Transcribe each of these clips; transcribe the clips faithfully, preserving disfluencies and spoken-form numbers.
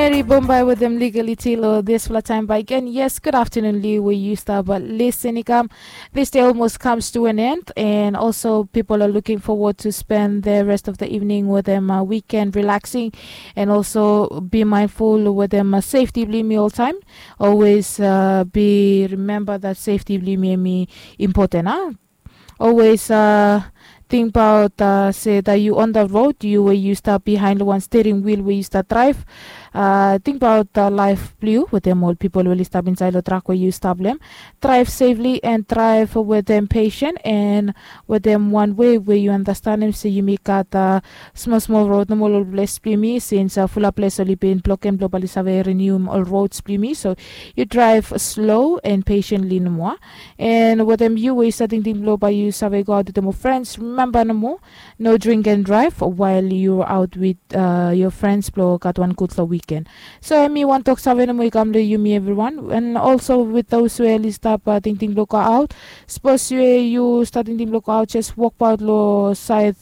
Very Bombay with them legally Tilo this for time by again. Yes, good afternoon, Lee, where you start, but listen, Ikam. This day almost comes to an end, and also people are looking forward to spend the rest of the evening with them uh, weekend relaxing, and also be mindful with them uh, safety blame all time. Always uh, be remember that safety blame important, huh? Always uh, think about uh, say that you on the road, you where you start behind one steering wheel where you start drive. Uh, think about uh, life blue with them all people will stop inside the truck where you stop them. Drive safely and drive with them patient and with them one way where you understand them. So you make out uh, small small road no more bless blue me since uh, full place only been block and blow bali save renew all roads blue me. So you drive slow and patiently no more. And wetem yu we yu save tingting blong bae yu save go aot wetem ol frens, rimemba nomo, no drink and drive while yu aot wit yu frens blong gat wan gudfala wiken. So em i wan tok save nomo i kam long yumi evriwan, and also wit those we oli stap tingting blong go aot. Sapos we yu stap tingting blong go aot, jes wokbaot long saed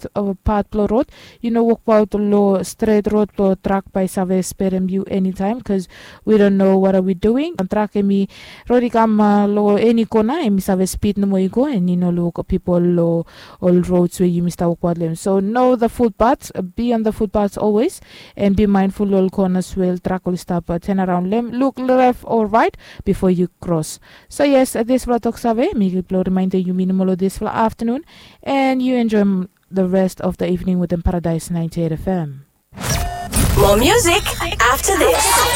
pat blong rod. Yu no wokbaot long stret rod blong trak bae save sperem yu enitaem, bikos we don't know what are we doing. Trak em i rod i kam long eni kona, em i save spid nomo i go, and i no luk pipol long ol rods we yumi stap wokbaot long em. So know the footpaths, be on the footpaths always, and be mindful long ol konas we ol trak oli stap turn around long em. Luk left or right before you cross. So yes, dispela tok save mi blong reminder yumi nomo long dispela afternoon, and you enjoy the rest of the evening with them Paradise ninety-eight F M. More music after this.